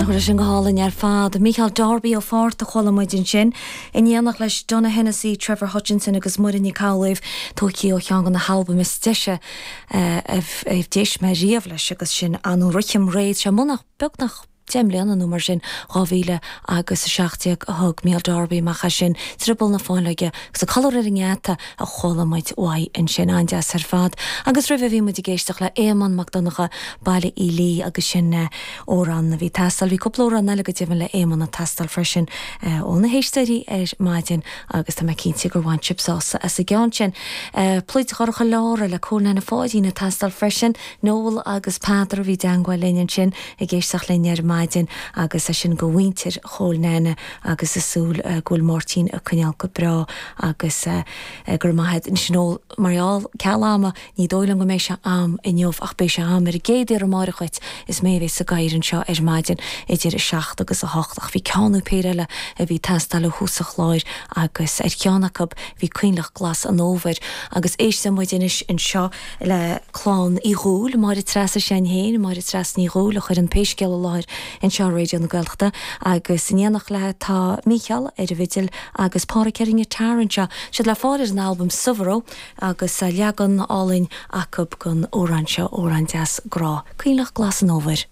Nach raibh sin go hálainn ar fad? Mícheál Darby ó Pháirt a chuala muid ansin, in éineacht leis Donogh Hennessy, Trevor Hutchinson agus Muireann Nic Amhlaoibh, tógtha ó cheann de na halbaim is deise a d'éist mé riamh leis agus sin Anú Rithim Réidh, sé munach beagnach 10 mbliana nó mar sin, 2000 agus 17 a thug Mícheál Darby amach é sin, Drioball na Fáinleoige agus Ag Codladh Ar an nGeata a chuala muid uaidh ansin, an-deas ar fad. Agus roimhe bhí muid ag éisteacht le Éamonn Mac Donncha, Baile Uí Lí agus sin amhrán a bhí ag teastáil. Bhí cúpla amhrán eile go deimhin le Éamonn ag teastáil freisin ó na héisteoirí ar maidin agus tá mé cinnte gur bhain sibh sásamh as an gceann sin. Pluid Dhorcha Lára le Cóil Neaine Pháidín ag teastáil freisin. Noel agus Peadar a bhí i dteangmháil linn ansin ag éisteacht linn ar maidin agus é sin go mhuintir Chóil Neaine agus ag súil go bhfuil Máirtín ag coinneáil go breá agus go raibh maith a't. Anois Noel, mar gheall ceal ama, ní dóigh liom go mbeidh sé a'm inniu ach beidh sé a'm ar an gcéad iarraidh amáireach dhuit, is mé a bheas ag obair anseo ar maidin idir 7 agus 8 ach bhí ceann nó péire eile a bhí ag teastáil ó thús an chláir agus ar cheann acu bhí Coinleach Glas an Fhómhair agus éistfidh muid anois anseo le clann Uí Dhúill, Máire Treasa s'againn féin, Máire Treasa Ní Dhúill a chuireann Pé Scéal i láthair anseo ar Raidió na Gaeltachta agus in éineacht léi tá Mícheál ar an bhfidil agus Páraic ar an ngiotár anseo. Siad le fáil ar an albam Subhro agus leagan álainn acu den amhrán seo, amhrán deas grá, Coinleach Glas an Fhómhair.